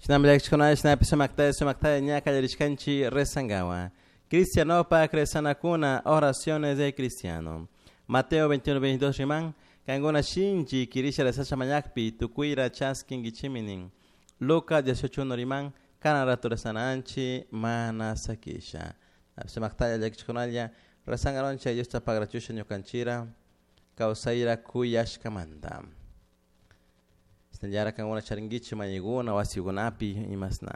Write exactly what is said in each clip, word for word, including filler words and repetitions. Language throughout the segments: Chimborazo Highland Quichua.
Shinami llakichikuna shinapi sumaktalla sumaktalla ña kallarishkanchik rezankawan. Cristianopak rezanakuna oraciones de cristiano. Mateo veintiuno veintidós riman, kankuna shinchi kirisha rezasha mañakpi tukuyra chaskinkichimi nin. Lucas dieciocho uno riman, kanan rato rezananchi mana sakisha. Sumaktalla llakichikunalla rezangaroncha Diosta pagrachusha ñukanchira kawsayra kuyashkamanta. Shinallara kankuna charinkichik mañaykuna wasikunapi imasna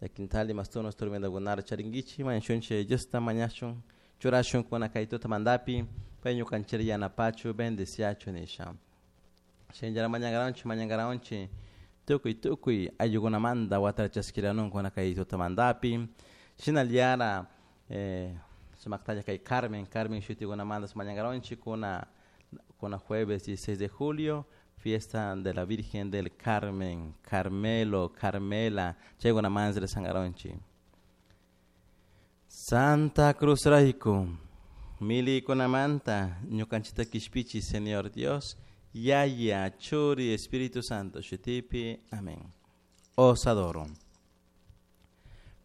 llakintali mastunos tormentakunara charinkichik mañashunchik Diosta mañashun churashun kuna kay tutamantapi pay ñukanchira yanapachu bendeciachu nisha. Shinallara mañankaranchik mañankaranchik tukuy tukuy ayllukunamanta watara chaskiranunkuna kay tutamantapi. Shinallara eh, sumaktalla kay Carmen, Carmen shutikunamanta mañankaranchik kuna kuna jueves dieciséis de julio, fiesta de la Virgen del Carmen, Carmelo, Carmela, chaykunamansi rezankaronchik. Santa Cruz rayku, milikunamanta ñukanchikta kishpichi Señor Dios, Yaya, Churi, Espíritu Santo, shutipi, amén. Os adoro.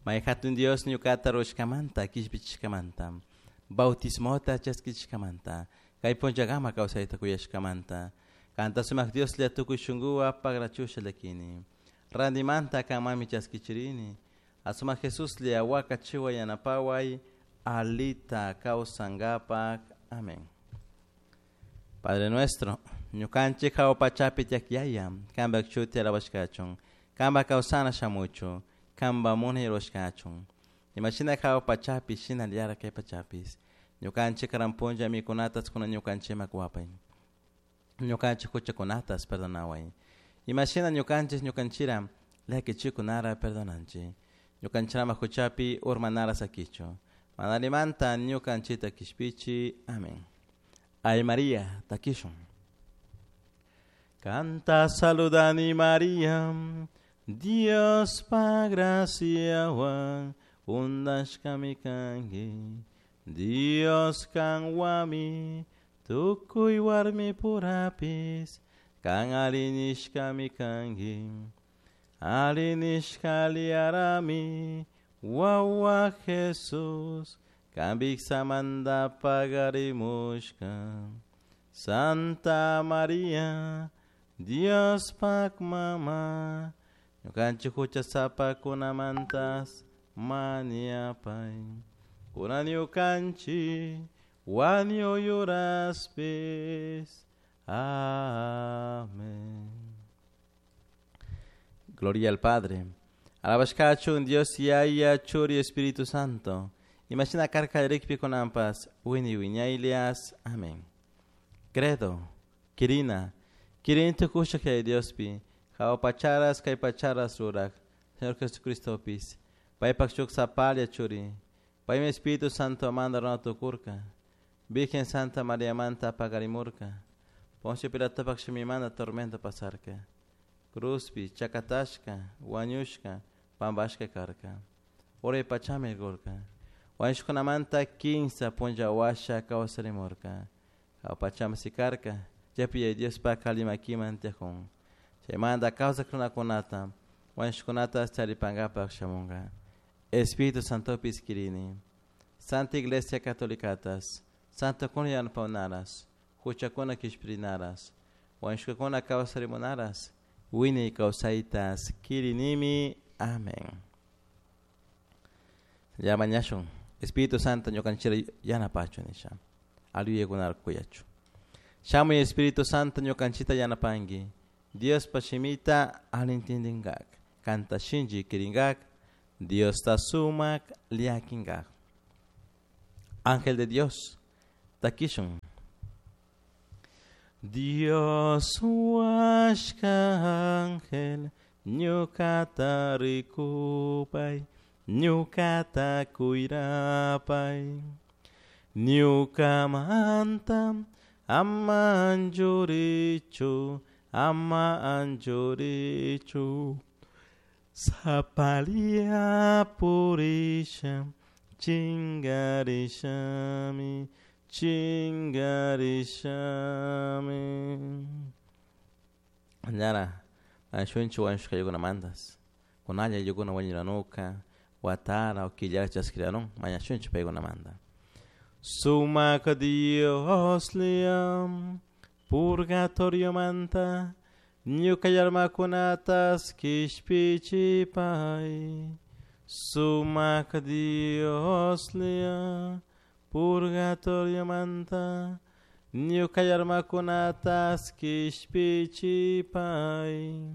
May hatun Dios ñukata rushkamanta, kishpichishkamanta, bautismota chaskichishkamanta, kay punllakama kawsayta kuyashkamanta, kanta sumak Dios lla tukuy shunkuwa pagrachusha llakini. Randimanta kanmanmi chaskichirini, asumak Jesus lla wakachiwa yanapaway, alita kawsankapak. Amén. Padre nuestro, ñukanchik hawa pachapi tiyak yaya, kanpak shuti alabashkachun, kanpak kawsana shamuchu, kanpak munay rurashkachun. Imashina hawa pachapi shinallara kay pachapis. Ñukanchik karan punlla mikunatas kuna ñukanchikman wapay. Ñukanchik huchakunatas perdonaway. Imashina ñukanchik ñukanchira llakichikunara perdonanchik. Ñukanchirama huchapi urmanara sakichu. Manalimanta ñukanchita kishpichi. Amén. Ay María, takishun. Canta saludani María, Dios pa graciawan undashkami kanki. Dios kanwami tukuy warmi purapis, kan alinishkami kanki. Alinishka liarami, wawa Jesus, kan biksamanta pagarimushka. Santa María, Dios pak mama, ñukanchik huchasapakunamantas mañapay. Kuna ñukanchik wañuyuraspis. Amén. Gloria al Padre. Alabashkachun Dios Yaya, Churi, Espíritu Santo. Imagina karka rikpi konampas, wini wiñaylias. Amén. Credo, Kirina, Kirin tukusha kay Diospi, hawa pacharas kay pacharas rurak, Señor Jesucristo pis, paypak shuk sapalia churi, paymi Espíritu Santo manda runa tukurka, Virgen Santa María manta pagarimurka, Poncio Pilatopak shimimanta tormento pasarka, Cruzpi, chakatashka, wañushka, pampashka karka, Uray pachami gurka, wañushkunamanta kinsa punlla washa kawsarimurka, hawa pachami sikarka, Chapi Dios pa kalimakiman tiajun. Chaymanta kawsak runakunata, wañushkunata charipankapak shamunka. Espíritu Santopis kirini. Santa Iglesia Catolicatas, Santo kuna yanapawnaras, huchakuna kishpirinaras, wañushkakuna kawsarimunaras, wiñay kawsaytas kirinimi. Amén. Ya mañashun. Espíritu Santo ñukanchira yanapachu nisha. Aliyekunar kuyachu. Shamuy Espíritu Santo ñukanchita yanapanki. Dios pashimita alintindingak. Kanta shinchi kiringak. Dios ta sumak liakingak. Ángel de Dios, takishun. Dios huashka ángel, ñukata rikupay, ñukata kuyrapay. Ñukamanta ama anchurichu, ama anchurichu. Sapalia purisha, chingarishami, chingarishami. Ñara, anshunchi wañushkaykunamantas. Kunalla ayllukuna wañuranuka watara o killara chaskiranun mañashunchik paykunamanta. Sumak Dioslla purgatoriomanta ñuka almakunatas kishpichipay. Sumak Dioslla purgatoriomanta ñuka almakunatas kishpichipay.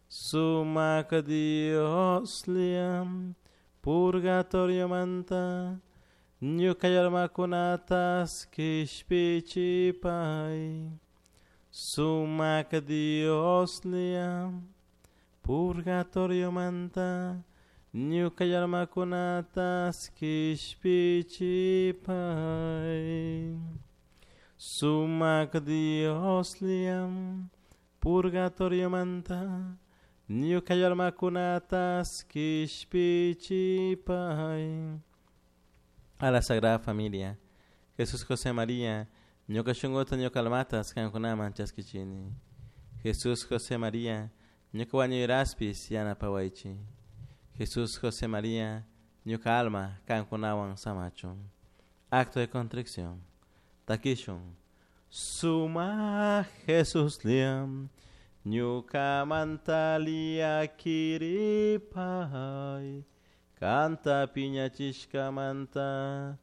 Sumak Dioslla purgatoriomanta ñuka almakunatas kishpichipay. Sumak Dioslla purgatoriomanta ñuka almakunatas kishpichipay. Sumak Dioslla purgatoriomanta ñuka almakunatas kishpichipay. A la Sagrada Familia, Jesús José María, ñuka shunkuta ñuka almatas kankunaman chaskichini. Jesús José María, ñuka wañuyraspis yanapawaychik. Jesús José María, ñuka alma kankunawan samachun. Acto de contrición. Takishun. Suma Jesús liam, ñuka mantalia kiripay, kanta piñachishkamanta,